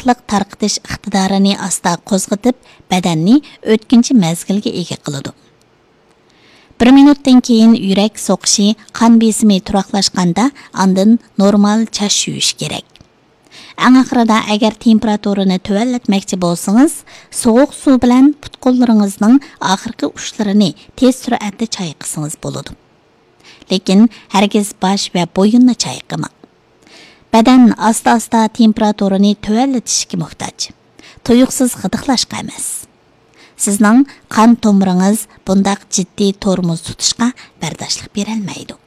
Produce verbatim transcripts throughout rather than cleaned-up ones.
ئىسسىقلىق تارقىتىش ئىقتىدارىنى ئاستا قوزغىتىپ، بەدەننى ئۆتكۈنچى مەزگىلگە ئىگە قىلىدۇ. بىر مىنۇتتىن كېيىن يۈرەك سوقۇشى، قان بېسىمى تۇراقلاشقاندا، ئاندىن نورمال چاچ يۇيۇش كېرەك. ئەڭ ئاخىرىدا، ئەگەر تېمپېراتۇرىنى تۆۋەنلەتمەكچى بولسىڭىز، سوغۇق سۇ بىلەن پۇت-قوللىرىڭىزنىڭ ئاخىرقى ئۇچلىرىنى تېز سۈرئەتتە چايقىسىڭىز بولىدۇ. لېكىن ھەرگىز باش ۋە بويۇننى چايقىماڭ. بەدەن ئاستا-ئاستا تېمپېراتۇرىنى تۆۋەنلىتىشكە موھتاج. تۇيۇقسىز غىدىقلاشقا ئەمەس. سىزنىڭ قان تومۇرىڭىز بۇنداق جىددىي تورمۇز تۇتۇشقا بەرداشلىق بېرەلمەيدۇ.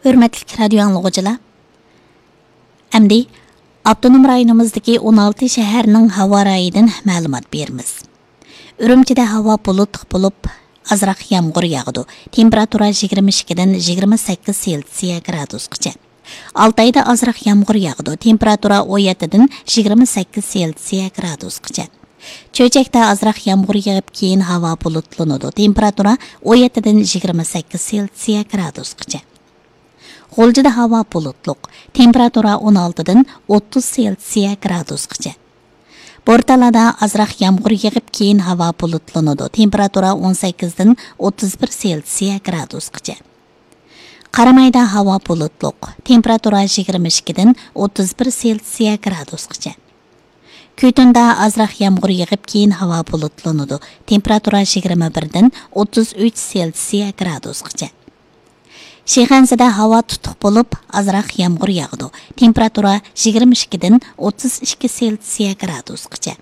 ھۆرمەتلىك رادىيو ئاڭلىغۇچىلار، ئەمدى ئاپتونوم رايونىمىزدىكى ئون ئالتە شەھەرنىڭ ھاۋا رايىدىن مەلۇمات بېرىمىز. ئۈرۈمچىدە ھاۋا بۇلۇتلۇق بولۇپ، ئازراق يامغۇر ياغىدۇ. تېمپېراتۇرا يىگىرمە ئىككىدىن يىگىرمە سەككىز سېلسىيە گرادۇسقىچە. ئالتايدا ئازراق يامغۇر ياغىدۇ. تېمپېراتۇرا ئون يەتتىدىن يىگىرمە سەككىز سېلسىيە گرادۇسقىچە. چۆچەكتە ئازراق يامغۇر يېغىپ، كېيىن ھاۋا بۇلۇتلىنىدۇ. تېمپېراتۇرا ئون يەتتىدىن يىگىرمە سەككىز سېلسىيە گرادۇسقىچە. غۇلجىدا ھاۋا بۇلۇتلۇق. تېمپېراتۇرا ئون ئالتىدىن ئوتتۇز سېلسىيە گرادۇسقىچە. بورتالادا ئازراق يامغۇر يېغىپ، كېيىن ھاۋا بۇلۇتلىنىدۇ. تېمپېراتۇرا ئون سەككىزدىن ئوتتۇز بىر سېلسىيە گرادۇسقىچە. قارامايدا ھاۋا بۇلۇتلۇق. تېمپېراتۇرا يىگىرمە ئىككىدىن ئوتتۇز بىر سېلسىيە گرادۇسقىچە. كۈتۈندە ئازراق يامغۇر يېغىپ، كېيىن ھاۋا بۇلۇتلىنىدۇ. تېمپېراتۇرا يىگىرمە بىردىن ئوتتۇز ئۈچ سېلسىيە گرادۇسقىچە. شىخەنزىدە ھاۋا تۇتۇق بولۇپ، ئازراق يامغۇر ياغىدۇ. تېمپېراتۇرا يىگىرمە ئىككىدىن ئوتتۇز ئىككى سېلسىيە گرادۇسقىچە.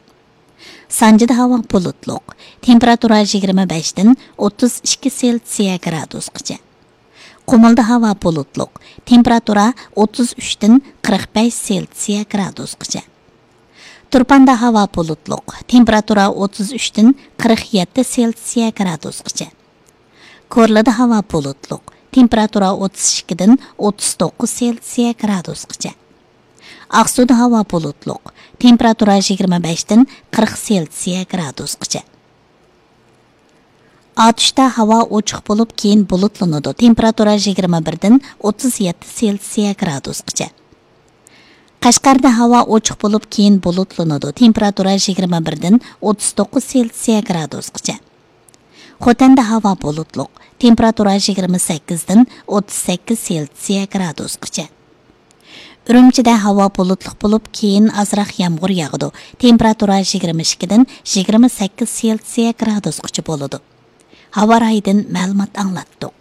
سانجىدا ھاۋا بۇلۇتلۇق. تېمپېراتۇرا يىگىرمە بەشتىن ئوتتۇز ئىككى سېلسىيە گرادۇسقىچە. قۇمۇلدا ھاۋا بۇلۇتلۇق. تېمپېراتۇرا ئوتتۇز ئۈچتىن قىرىق بەش سېلسىيە گرادۇسقىچە. تۇرپاندا ھاۋا بۇلۇتلۇق. تېمپېراتۇرا ئوتتۇز ئۈچتىن قىرىق يەتتە سېلسىيە گرادۇسقىچە. كورلىدا ھاۋا بۇلۇتلۇق. تېمپېراتۇرا ئوتتۇز ئىككىدىن ئوتتۇز توققۇز سېلسىيە گرادۇسقىچە. ئاقسۇدا ھاۋا بۇلۇتلۇق. تېمپېراتۇرا يىگىرمە بەشتىن قىرىق سېلسىيە گرادۇسقىچە. ئاتۇشتا ھاۋا ئوچۇق بولۇپ، كېيىن بۇلۇتلىنىدۇ. تېمپېراتۇرا يىگىرمە بىردىن ئوتتۇز يەتتە سېلسىيە گرادۇسقىچە. قەشقەردە ھاۋا ئوچۇق بولۇپ، كېيىن بۇلۇتلىنىدۇ. تېمپېراتۇرا يىگىرمە بىردىن ئوتتۇز توققۇز سېلسىيە گرادۇسقىچە. خوتەندە ھاۋا بۇلۇتلۇق. تېمپېراتۇرا يىگىرمە سەككىزدىن ئوتتۇز سەككىز سېلسىيە گرادۇسقىچە. ئۈرۈمچىدە ھاۋا بۇلۇتلۇق بولۇپ، كېيىن ئازراق يامغۇر ياغىدۇ. تېمپېراتۇرا يىگىرمە ئىككىدىن يىگىرمە سەككىز سېلسىيە گرادۇسقىچە بولىدۇ. ھاۋا رايىدىن مەلۇمات ئاڭلاتتۇق.